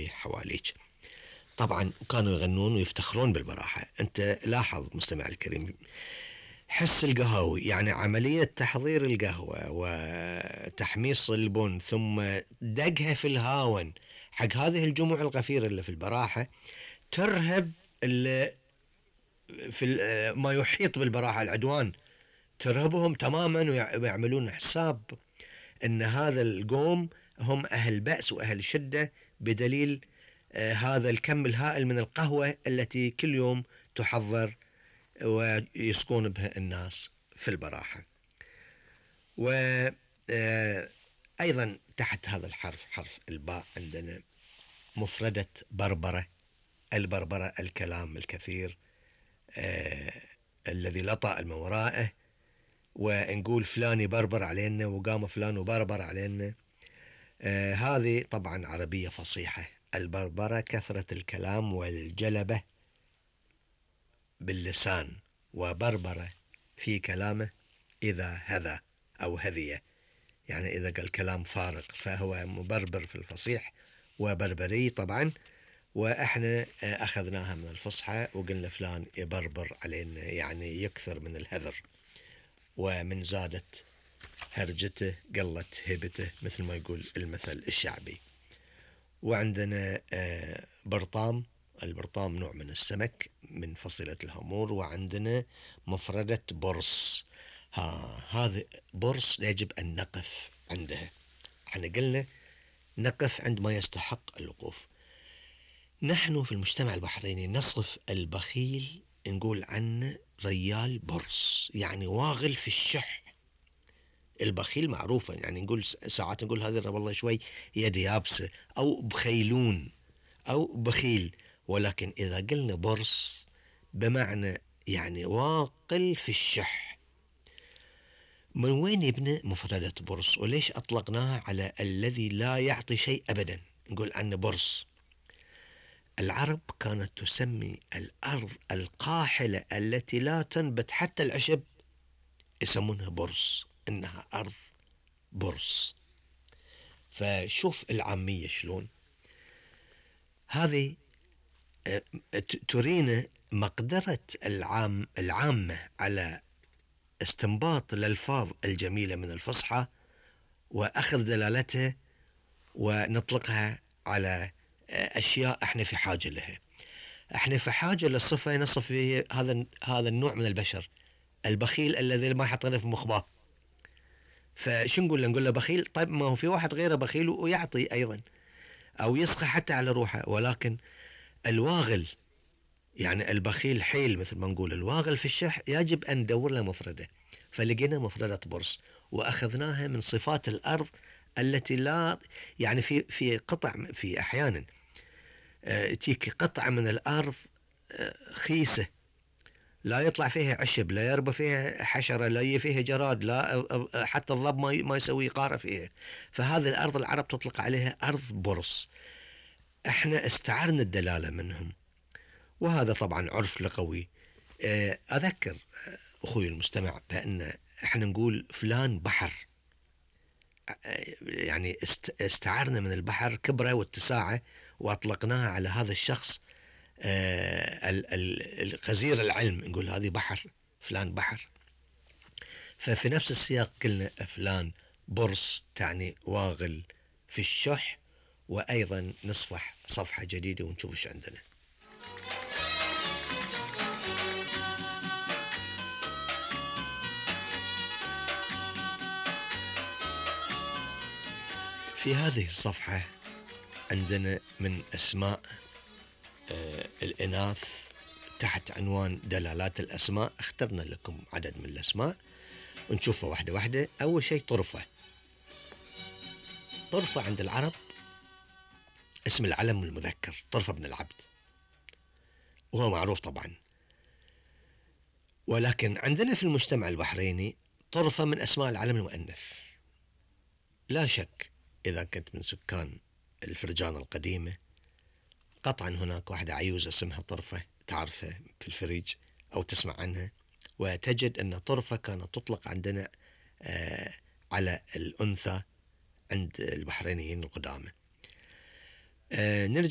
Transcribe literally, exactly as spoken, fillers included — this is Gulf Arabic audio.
اللي حواليك. طبعا وكانوا يغنون ويفتخرون بالبراحة. انت لاحظ مستمع الكريم، حس القهوي يعني عملية تحضير القهوة وتحميص البن ثم دقها في الهاون حق هذه الجموع الغفيرة اللي في البراحة، ترهب اللي في ما يحيط بالبراحة، العدوان ترهبهم تماما، ويعملون حساب ان هذا القوم هم اهل بأس واهل شدة بدليل آه هذا الكم الهائل من القهوة التي كل يوم تحضر ويسقون بها الناس في البراحة. وأيضا تحت هذا الحرف حرف الباء عندنا مفردة بربرة. البربرة الكلام الكثير آه الذي لا طائل من ورائه، ونقول فلان يبربر علينا وقام فلان وبربر علينا. آه هذه طبعا عربية فصيحة. البربرة كثرة الكلام والجلبة باللسان، وبربرة في كلامه إذا هذا أو هذية، يعني إذا قال كلام فارغ فهو مبربر في الفصيح وبربري طبعا. وإحنا أخذناها من الفصحى وقلنا فلان يبربر علينا، يعني يكثر من الهذر، ومن زادت هرجته قلت هبته مثل ما يقول المثل الشعبي. وعندنا برطام. البرطام نوع من السمك من فصيلة الهامور. وعندنا مفردة برص. ها هذا برص يجب أن نقف عندها. احنا قلنا نقف عند ما يستحق الوقوف. نحن في المجتمع البحريني نصف البخيل نقول عنه ريال برص، يعني واغل في الشح. البخيل معروفة، يعني نقول ساعات نقول هذا والله شوي يد يابسة أو بخيلون أو بخيل، ولكن إذا قلنا برص بمعنى يعني واقل في الشح. من وين يبنى مفردة برص؟ وليش أطلقناها على الذي لا يعطي شيء أبدا نقول عنه برص؟ العرب كانت تسمي الأرض القاحلة التي لا تنبت حتى العشب يسمونها برص، إنها أرض برص. فشوف العامية شلون هذه ترينا مقدرة العام العامة على استنباط الألفاظ الجميلة من الفصحى وأخذ دلالتها ونطلقها على أشياء احنا في حاجة لها. احنا في حاجة للصفة نصف فيه هذا هذا النوع من البشر، البخيل الذي ما يحط في مخباه. فشو نقول له؟ نقول له بخيل؟ طيب ما هو في واحد غيره بخيل ويعطي أيضا أو يسخى حتى على روحه. ولكن الواغل يعني البخيل حيل مثل ما نقول، الواغل في الشح يجب أن ندور له مفردة. فلقينا مفردة برص وأخذناها من صفات الأرض التي لا يعني في في قطع في أحيانا اه تيك قطعة من الأرض اه خيسة لا يطلع فيها عشب، لا يربى فيها حشرة، لا فيها جراد، لا حتى الضب ما ما يسوي قارة فيها. فهذه الأرض العرب تطلق عليها أرض برص. احنا استعرنا الدلالة منهم، وهذا طبعا عرف لغوي. أذكر أخوي المستمع بأن احنا نقول فلان بحر، يعني استعرنا من البحر كبره واتساعه وأطلقناها على هذا الشخص الغزير العلم، نقول هذه بحر، فلان بحر. ففي نفس السياق قلنا فلان برص تعني واغل في الشح. وأيضا نصفح صفحة جديدة ونشوف ايش عندنا. في هذه الصفحة عندنا من أسماء آه الإناث تحت عنوان دلالات الأسماء. اخترنا لكم عدد من الأسماء ونشوفها واحدة واحدة. أول شيء طرفة. طرفة عند العرب اسم العلم المذكر، طرفة بن العبد، وهو معروف طبعا. ولكن عندنا في المجتمع البحريني طرفة من أسماء العلم المؤنث. لا شك إذا كنت من سكان الفرجان القديمة قطعا هناك واحدة عيوزة اسمها طرفة تعرفها في الفريج أو تسمع عنها، وتجد أن طرفة كانت تطلق عندنا آه على الأنثى عند البحرينيين القدامى. آه نرجع